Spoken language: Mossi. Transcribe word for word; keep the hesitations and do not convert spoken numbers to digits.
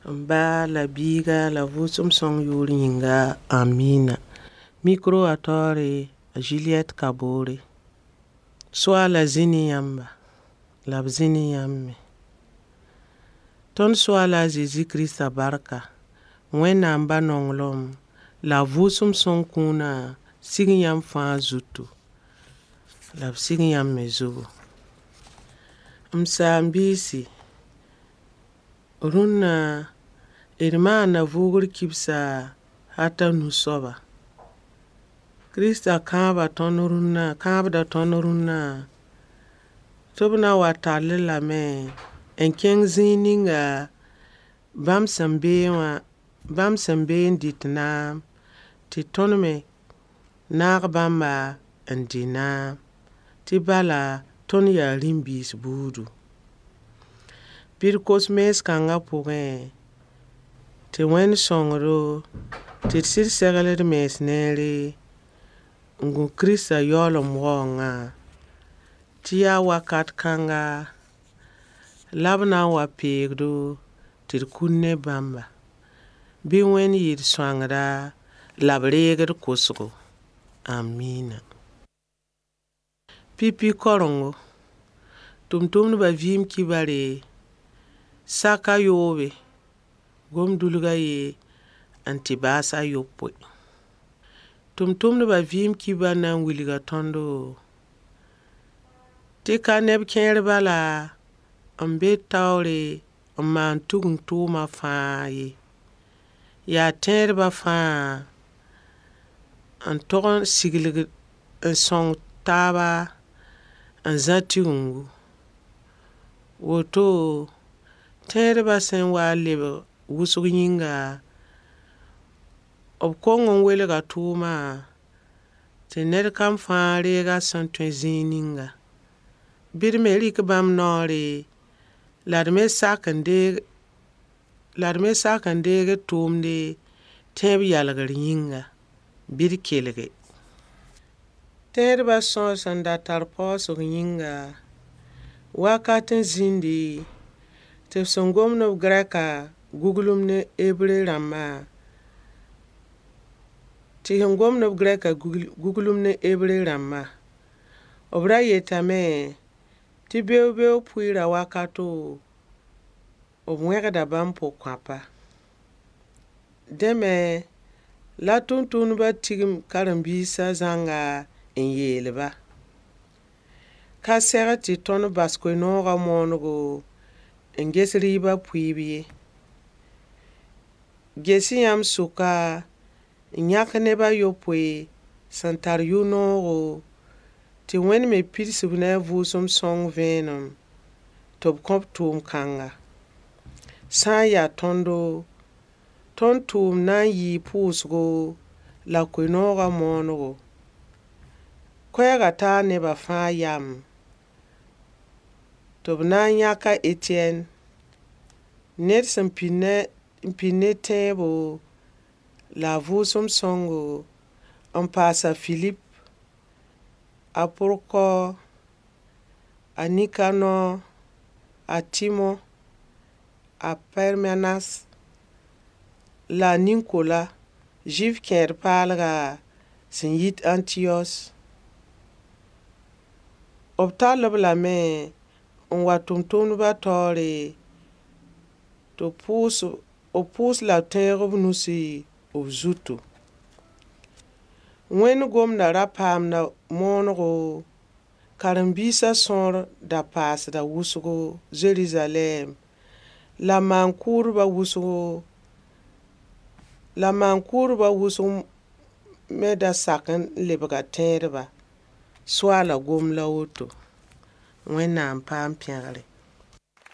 M ba la biiga la vʋʋsem sõng yʋʋr yĩnga. Amina. Micro wã taoore Juliette Kabore. Soaala zĩ ne yãmba. La b zĩ ne yãmb me. Tõnd Soaala a Zezi Kirista barka, Wẽnnaam ba nonglem la a vʋʋsem sõng kũuna sig yãmb fãa zutu. La b sig yãmb me zugu. M saam-biisi, rũnna d maanda vʋʋgr kibsa hal t'a nu soaba. Kirista kãaba tõnd rũnna, kãabda tõnd rũnnã tɩ b na n wa tall-d lame n kẽng zĩig ninga bãmb sẽn beẽ wã, bãmb sẽn beẽ n dɩt naam, tɩ tõnd me naag bãmba n dɩ naam. Tɩ bala, tõnd yaa rĩm-biis buudu. Bɩ d kos mees-kãngã pʋgẽ, tɩ Wẽnd sõng-do tɩ d sɩd segl d mens neere n gũ Kirista yaoolem waoongã, tɩ yaa wakat kãnga la b na n wa peeg-do tɩ d kul ne bãmba. Bɩ Wẽnd yɩ d sõangda la b reeg d kosgo. Amiina. Pipi karengo, tʋmtʋmdbã vɩɩm kibare, sak a yoobe, gom-dulg a yen n tɩ baas a yopoe. Tʋmtʋmdbã vɩɩm kibar na n wilga tõndo tɩ ka neb kẽer bala n be taoore n maan tugum tʋʋma fãa ye. Yaa tẽedbã fãa n tog n siglg n sõng taaba n zã Tigengu. Woto, tẽedbã sẽn wa n lebg wʋsg yĩnga, b kong n welga tʋʋma tɩ ned kam fãa reeg a sẽn tõe zĩig ninga. Bɩ d me rɩk bãmb noore la d me sak n deeg la d me sak n deeg d tʋʋmde tẽeb yalgr yĩnga. Bɩ d kelge. Tẽedbã sõor sẽn da tar paoosg yĩnga, wakat n zĩndi tɩ b sẽn gomd b Gɛrɛka guglem ne Hebre rãmba, tɩ sẽn gomd b Gɛrɛka guglem ne Hebre rãmba. B ra yetame tɩ beoog-beoog pʋɩɩra wakato, b wẽgda bãmb pʋgkõapa. Dẽ me, la tʋmtʋmdbã tigim karen-biisã zãnga n yeel-ba: Ka segl tɩ tõnd bas koe-noogã moonego n ges rɩɩbã pʋɩɩb ye. Ges-y yãmb sʋka n yãk neb a yopoe sẽn tar yʋ-noogo tɩ Wẽnd me pids-b ne a vʋʋsem sõng vẽenem tɩ b kõ-b tʋʋm-kãnga. Sã n yaa tõndo, tõnd tʋʋmd na n yɩɩ pʋʋsgo la koe-noogã moonego. Koɛɛgã taa nebã fãa yam tɩ b na n yãk a Etiyɛn, ned sẽn pid ne n pid ne tẽebo la a vʋʋsem sõngo, n paas a Filip, a Prokɔr, a Nikanɔ, a Tɩmõ, a Pɛrmenas la a Ninkola, Zʋɩf kẽed paalga sẽn yit Ãntiyos. B tall-b lame n wa tʋmtʋmdbã taoore tɩ pʋʋs b pʋʋs la b tẽeg b nusi b zutu. Wẽnd gomdã ra paamda moonego, karen-biisã sõor da paasda wʋsgo Zeruzalɛm la maan-kʋʋdbã wʋsgo la maan-kʋʋdbã wʋsg me da sak n lebga tẽedba. Soaala gom la woto. Wẽnnaam paam pẽgre.